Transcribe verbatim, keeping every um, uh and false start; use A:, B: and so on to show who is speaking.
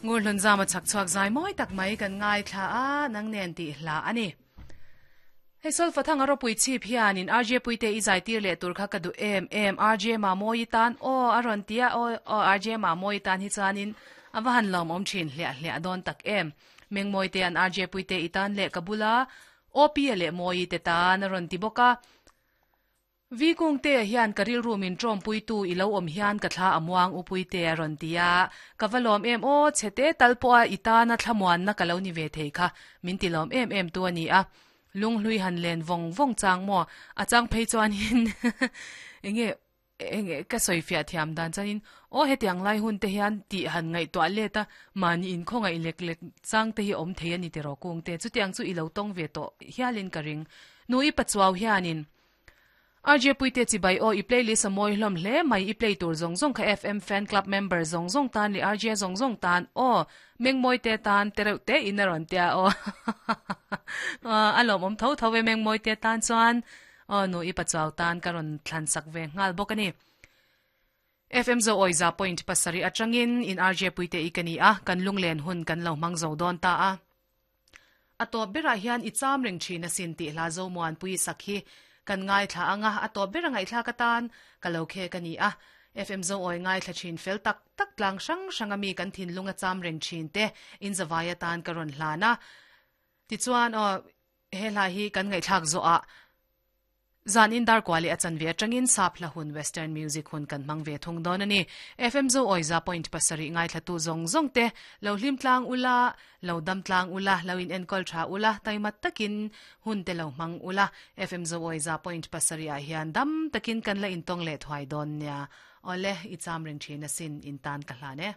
A: Ngur hlun zama chak chuak zai moi tak mai kan ngai thla a nang nen ti hla ani. Hei sol fathang aro pui chip hian in R J puite i zai tir le tur kha ka du em em R J ma moi tan o aron tia o o R J ma moi tan hi chanin awa han lom om thin hlia hlia don tak em meng moi te an R J puite i tan le kabula O P le moi te tan aron ti boka vi kung te hian karil room in trom pui tu ilo om hian ka thla amuang upui te aron tia kavalom em o chete talpo a itana thlamuan na kalo ni ve thei kha min tilom em em tu ani a lung hlui han len vong vong chang mo a chang phei chuan hin enge enge ka soi fia thiam dan chanin o hetiang lai hun te hian ti han ngai to le ta mani in khongai lek lek chang te hi om thei ani te ro kung te chutiang chu ilo tong ve to hialin ka ring nui pachuaw hianin R J puite chi bai o i playlist a moi hlom hle mai i play tur zong zong kha F M fan club member zong zong tan li R J zong zong tan o meng moi te tan tereu te inaron tia o alom om tho tho ve meng moi te tan chuan o nu i pachaw tan karon thlan sak ve ngal bokani F M zo oiza point pasari atangin in R J puite ikani a kan lunglen hun kan lo mang zo don ta a ato bera hian i cham reng thina sin ti hla zo muan pui sakhi kan ngai thla anga ato bera ngai thla ka tan kalo khe kani a F M zo oi ngai thla chin fel tak tak tlang sang sangami kan thin lunga cham reng thin te in zawaya tan karon hlana ti chuan o he hla hi kan ngai thlak zo a zan in dar kwali achan ve atangin sap hla hun western music hun kan mang ve thung don ani F M zo oiza point pasari ngai thla tu zong zong te lo hlim tlang ula lo dam tlang ula lo in enkol tha ula taimat takin hun te lo mang ula F M zo oiza point pasari a hian dam takin kan la in tong le thwai don nya ole i cham ring thina sin in tan ka hla ne.